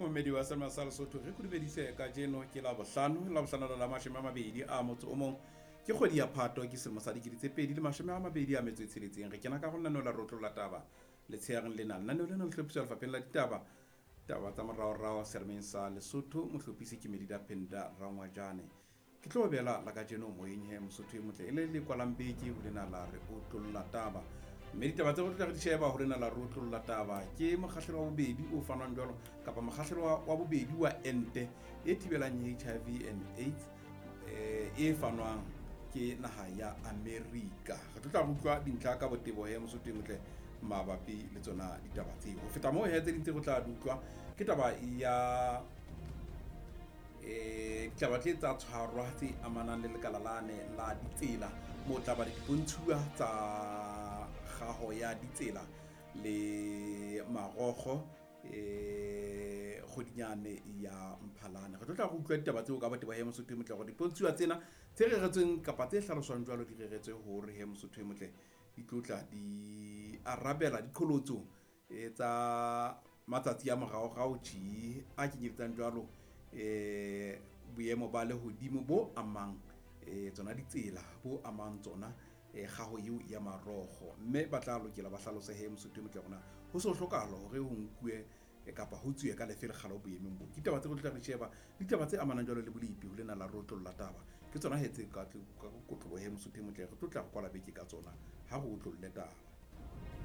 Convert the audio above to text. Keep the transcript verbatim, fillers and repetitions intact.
Momedi wa Selma sa Lesotho re kudubedise kajeno ke la bohlano la bohlano la mashome a mabedi a motso o mong ke kgwedi ya Phato ke selemo sa dikete tse pedi le mashome a mabedi a metso e tsheletseng. Re kena ka go lenaneo la rotlolla taba letsheareng lena. Lenaneo lena le hlophiswa lefapheng la ditaba taba tsa moraorao selemeng sa Lesotho. Mohlophisi ke Medida Penda Rangwajane. Ke tlo bela la kajeno moyeng he Mosotho e motle e le le kwalang beke ho lena la re otlolla taba. Mme ditaba tse re tla re di sheba ho lena la re otlolla taba ke mokgahlelo wa bobedi o fanwang jwalo kapa mokgahlelo wa bobedi wa ente e thibelang H I V and AIDS eh, e fanwang ke naha ya Amerika. Re tlo tla re utlwa dintlha ka botebo he Mosotho e motle mabapi le tsona ditaba tseo. Ho feta moo he tse ding tse re tla di utlwa ke taba ya eh ditaba tse tsa tshwarwa tse amanang le lekala lane la ditsela mo tla ba le dipontshuwa tsa kgaho ya ditsela le marokgo eh kgodinyane ya Mphalane. Re tlo tla re utlwa ditaba tseo ka botebo he Mosotho e motle hore dipontshuwa tsena tse reretsweng kapa tse hlaloswang jwalo di reretswe hore he Mosotho e motle di tlotla di arabela diqholotso e tsa matsatsi a moraorao tje a kenyeletsang jwalo eh boemo ba lehodimo bo amang eh tsona ditsela bo amang tsona eh kgaho eo ya marokgo. Mme ba tla lokela ba hlalose he Mosotho e motle rona ho so hlokahala hore ho nkuwe kapa ho tsuwe ka lefe lekgala boemong bo. Ke ditaba tse re tla re sheba ditaba tse amanang jwalo le bolepi ho lena la rotlolla taba ke tsona he tse ka ka kotlobo he Mosotho e motle re tlo tla re kwala beke ka tsona ha re otlolle taba.